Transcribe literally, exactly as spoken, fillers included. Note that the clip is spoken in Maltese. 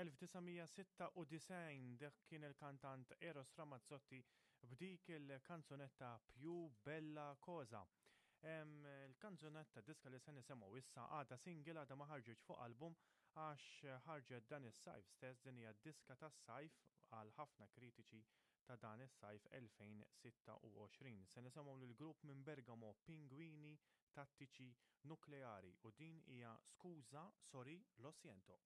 elf disa' mija sitta u disgħin, dak kien il-kantant Eros Ramazzotti b'dik il-kanzunetta "Più Bella Cosa". Il-kanzunetta, diska li se nisimgħu issa, għadha single, għadha ma ħarġitx fuq album għax ħarġet dan is-sajf stess. Din hija diska tas-sajf għal ħafna kritiċi ta' dan is-sajf elfejn sitta u għoxrin. Se nisimgħu lill-grupp minn Bergamo, Pinguini Tattici Nucleari, u din hija "Scusa, Sorry, Lo Siento".